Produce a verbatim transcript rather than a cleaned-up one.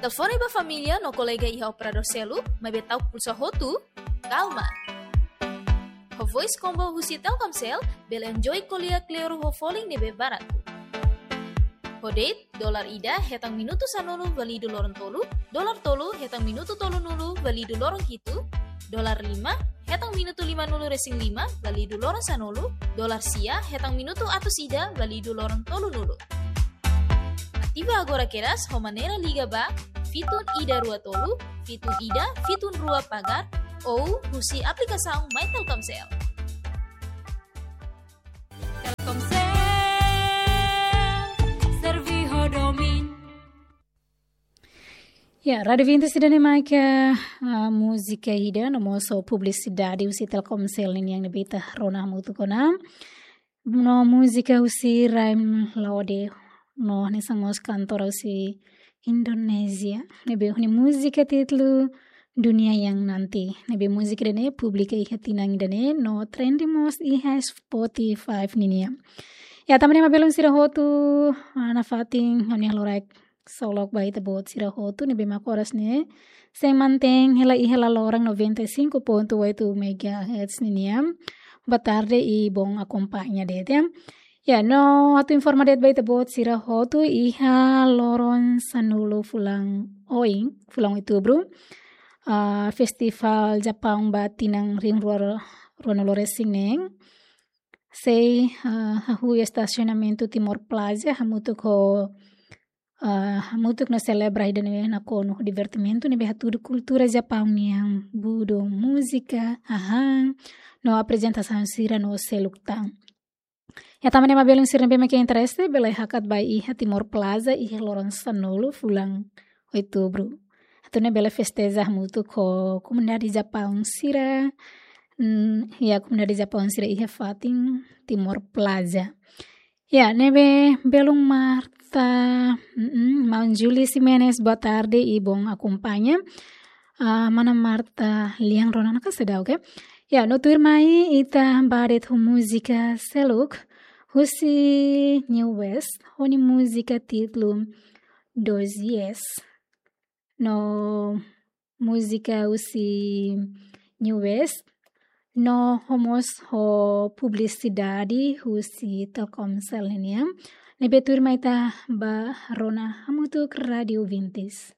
Telefone ba família no kolega iha operadór seluk, maibé ta'uk pulsa hotu? Kalma. Ho Voice Combo husi Telkomsel, bele enjoy ko'alia kleur ho folin ne'ebé baratu. Ho date, dolar ida hetan minutu sanulu válidu loron tolu, dolar tolu hetan minutu tolunulu válidu loron hitu, dolar lima hetan minutu limanulu resin lima válidu loron sanulu, dolar sia hetan minutu atus ida válidu loron tolunulu. Ativa agora kedas ho maneira liga ba fitun ida rua tolu, fitun ida, fitun rua pagar, ou husi aplikasaun My Telkomsel. Telkomsel, servi ho domin. Ya, Rádio Vintes ida-ne'e mak, ah, múzika ida no mós publisidade husi Telkomsel nian ne'ebé ita rona hamutuk ona. No múzika husi Raim Laode, no hanesan mós kantora husi Indonézia. Ne'ebé ho nia múzika títulu Dunia Yang Nanti. Ne'ebé múzika ida-ne'e publika iha tinan ida-ne'e no trending mós iha Spotify nian. Ya, tanba ne'e mak belun sira hotu, ah, nafatin, ha'u-nia halo raik solok ba ita-boot sira hotu ne'ebé mak oras ne'e sei mantein hela iha laloran noventa e cinco ponto oito megahertz nian. Boa tarde i bom akompaña de'it, ya. Ya, no atu informa de'it ba ita-boot sira hotu, iha loron sanulu fulan oin, fulan Outubru, ah, Festival Japaun ba tinan rihun rua, ruanulu resin neen sei, ah, hahú estasionamentu Timor Plaza, hamutuk ho, ah, hamutuk no selebra ida-ne'e nakonu ho divertimentu ne'ebé hatudu kultura Japaun nian, budo, múzika, hahán, no aprezentasaun sira no seluk tan. Ya, tanba ne'e mak belun sira ne'ebé mak interese, bele hakat ba iha Timor Plaza, iha loron sanulu fulan Outubru. Atu nune'e bele festeja hamutuk ho komunidade Japaun sira, mm, ya, komunidade Japaun sira iha fatin Timor Plaza. Ya, ne'ebé belun Marta, mm, Maun Julie Ximenes, boa tarde i bom akompaña. Ah, mana Marta Liang Ronan ka sedau ke? Ya, no tuirmai ita bá de'it ho múzika seluk husi New West, ho nia múzika títulu Dois Yes. No múzika husi New West, no ho mós ho publisidade husi Telkomsel nian. Ne'ebé tuirmai ita bá rona hamutuk Rádio Vintes.